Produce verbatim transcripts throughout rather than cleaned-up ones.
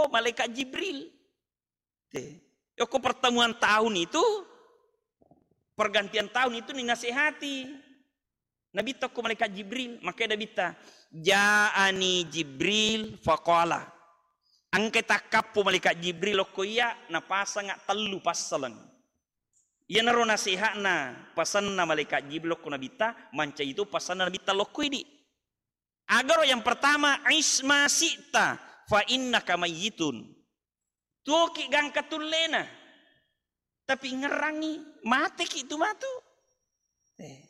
malaikat Jibril. Te. Yoko pertemuan tahun itu, pergantian tahun itu ninasehati Nabitta ko malaikat Jibril. Makanya Nabitta, "Ja'ani Jibril faqala." Engka takkappo malaikat Jibril okko iya, napasanga tellu passaleng. Iyanaro naseha'na, pasanna malaikat Jibril okko Nabitta, mancaji tu pasanna Nabitta lokko idi. Agaro yang pertama, "Ish ma syi'ta fa innaka mayyitun." Tuoki gangka tullena. Tapi ngerrangi, mateki tu matu. Eh.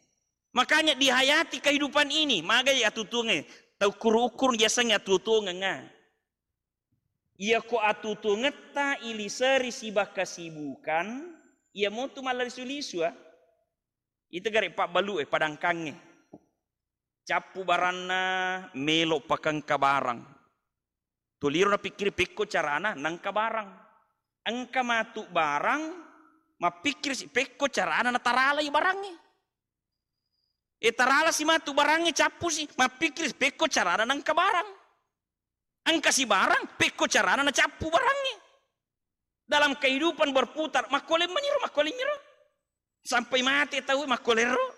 Makanya dihayati kehidupan ini, magai atutuonge, tau kuru ukur yasengnge atutuongenga. Iya ko atutuongetta iliseri siba kesibukan, iya motu mallalisu-lisu, ah. Itu gare pabbalu e, padangkangnge. Cappu baranna, melo pakengka barang. Tuliro napikkiri pekko carana nangka barang. Engka matu barang, mappikiri si pekko carana nataralai barangnge. E tarala si matu barangnge, cappu si, mappikiri si pekko carana nangka barang. Engka si barang, pekko carana nacappu barangnge. Dalam kehidupan berputar, makkoleng maniro, makkoleng miro. Sampai mate tau makkolero.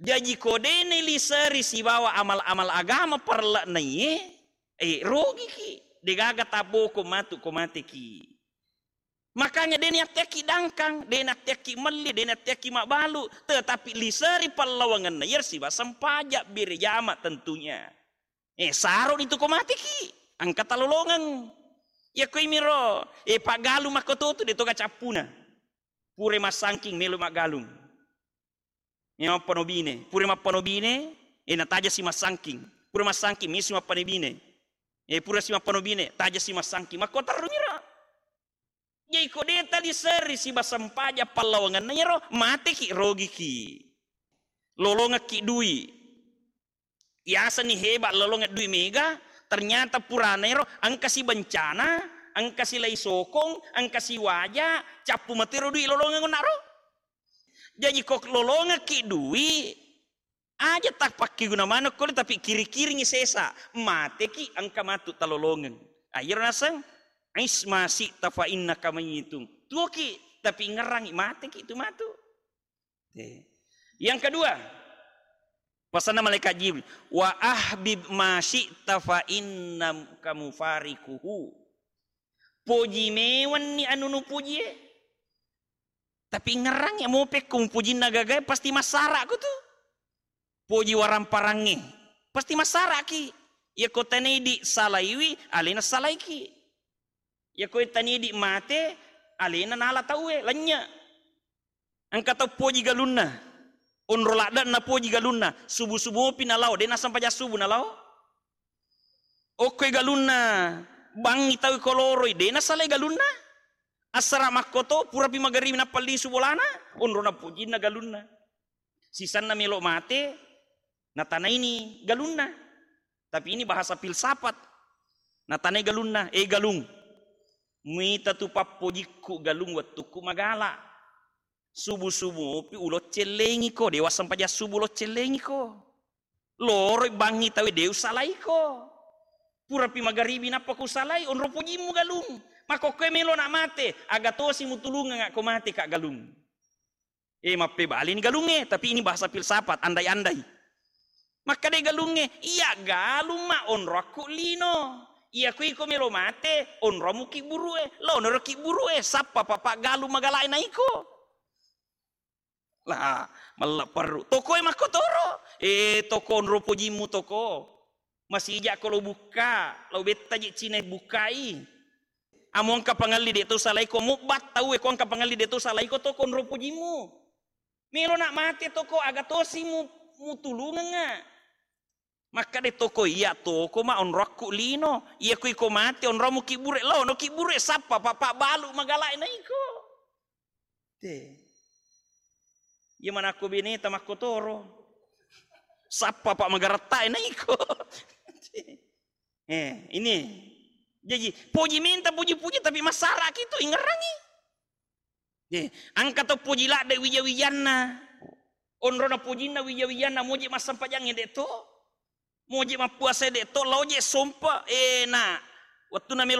Jaji ko de' naliseri sibawa amal-amal agama parelle'na iye, eh, rogiki. Degaga taboko matu ko mateki. Makanya de' natteaki dangkang, de' natteaki melli, de' natteaki mabbalu, tetapi liseri pallawangenna iyaro siba sempaja bere jama tentunya. Eh, saro ni tu ko mateki, engka talolongeng. Iya ko imiro, eh, paggalung makkototu de' toga cappuna. Pura massangking melo maggalung. Iya mappano bine, pura mappano bine, eh, nataja si massangking. Pura massangking, melo si mappano bine. Eh, pura si mappano bine, taja si massangking. Makko terru miro. Jadi ko de' taliseri siba sempaja pallawangenna iyaro, mateki, rogiki. Lolongekki dui. Yaseni heba lolongeng dui mega, ternyata purana ero engka si bencana, engka si lai sokong, engka si waja, cappu matero dui lolongeng onnaro. Jaji ko lolongekki dui, aja tappakkiguna maneng kole, tapi kiri-kiringi sesa, mateki engka matu talolongeng. Ayero naseng, "Ish ma syi'ta fa innaka mayyitun." Tuoki, tapi ngerrangi, mateki tu matu. Te. Yang kedua, pasanna malaikat Jibril, "Wa ahbib ma syi'ta fa innaka mufariquhu." Poji mewanni anu nupojie. Tapi ngerrangi, mo pekko mupojinna gagae, pasti massara'ko tu. Poji waramparangnge, pasti massara'ki. Iya ko tanidi salaiwi, alena salaiki. Iya ko tanidi mate, alena nala tauwe, lennye. Engka tau poji galunna. Onro ladde'na poji galunna. Subu-subu mopi nalao, de' nassempajang subu nalao. Okkoi galunna, bangngi tau ko loroi, de' nasalai galunna. Assara makkoto, purapi magaribi nappa lisu bolana, onro napojinna galunna. Sisenna melo mate, natanaini galunna. Tapi ini bahasa filsafat. Natanai galunna, "Eh galung, muita tu pappojikku galung wettukku magala. Subu-subu mopi uloccellengiko, de' wassempajang subu uloccellengiko. Loroi bangngi tauwe de' usalaiko. Purapi magaribi nappa kusalai, onro pojimmu galung. Makkokkoe melo na' mate, aga tosi mutulungeng ko mate ka' galung." Eh, mappebalini galungnge, tapi ini bahasa filsafat, andai-andai. Makkeda galungnge, "Iya galung ma onroakku lino. Iya ko iko melo mate, onroammu kibburu'e. Laonaro kibburu'e, sappa papa galung magalae naiko." Lah, mella perru. Tokoe makkotoro. Eh, toko onro pojimmu toko. Masija'ko lo bukka, lo betta je Cina bukkai. Amo engka pangelli de' to salaiko, mubbat tauwe ko engka pangelli de' to salaiko toko onro pojimmu. Melo na' mate toko, aga tosi mu-, mutulungengnga. Makkeda toko, "Iya toko ma onroakku lino. Iya ko iko mate onroammu kibburu'e, laono kibburu'e, sappa papa balu magalae naiko." Te. Iya manakko beneta makkotoro. Sappa pa magarattae naiko. Eh, ini. Jaji, poji menta, poji-poji, tapi massara'ki tu ingerrangi. Eh, engka to poji ladde wija-wijanna. Onrona pojinna wija-wijanna, moje massempajangnge de' to. Moje mappuasa de' to, laoje sompa. Eh, na. Wettunna melo